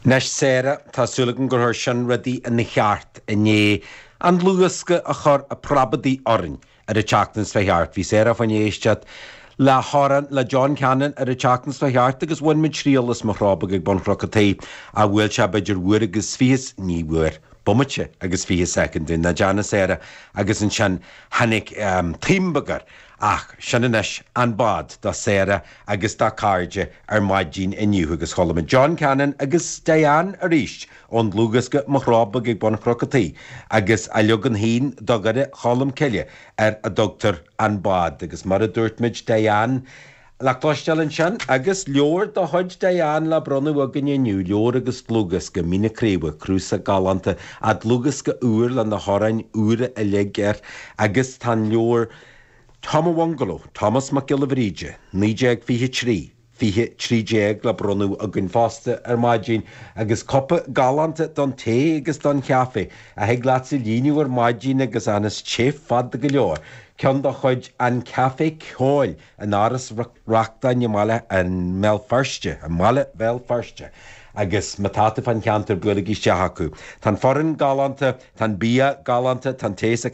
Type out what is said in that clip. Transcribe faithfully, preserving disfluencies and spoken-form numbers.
Anois Sarah tá súil agam gur chuir sin rudaí ina cheart i ndiaidh an dlúthdhiosca a chur ag preabadh orainn ar an tseachtain seo thart. Bhí Sarah faoin éisteacht le hamhrán le John Cannon ar an tseachtain seo thart agus bhain muid triail as Mo Chró Beag ag Bun Chnoc an Tí a bhfuil sé b'fhéidir uair agus fiche ní uair. Bomaite agus fiche soicind na Jana Sarah agus ansin tháinig um, taom beag air ach sin anois an bád do Sarah agus dá cairde ar maidin inniu agus chuala muid John Cannon agus Diane arís ón dlúthdhiosca Mo Chró Beag ag Bun Chnoc an Tí agus a leagan féin do Dhoire Cholm Cille ar a dtugtar an bád agus mar a dúirt muid Diane le cloisteáil ansin agus leabhar de chuid Diane le bronnadh againn inniu leabhar agus dlúthdhiosca Mín na Craoibhe cnuasach galánta a dlúthdhiosca úr le na hamhráin úra uilig air agus tá an leabhar Tom a Bhungalow, Thomas Mac Giolla Bhríde, naoi déag fiche trí, fiche trí déag le bronnadh againn fosta ar maidin agus cupa galánta don tae agus don chaife a thig leat a líonadh ar maidin agus anas te fada go leor. Ceann de chuid an Café Ceoil in Áras Reachtain i mBaile an mBéal Feirste, i mBaile Bhéal Feirste. agus má tá tú fán cheantar buailigí isteach acu. Tá foireann galánta, tá bia galánta, tá tae sa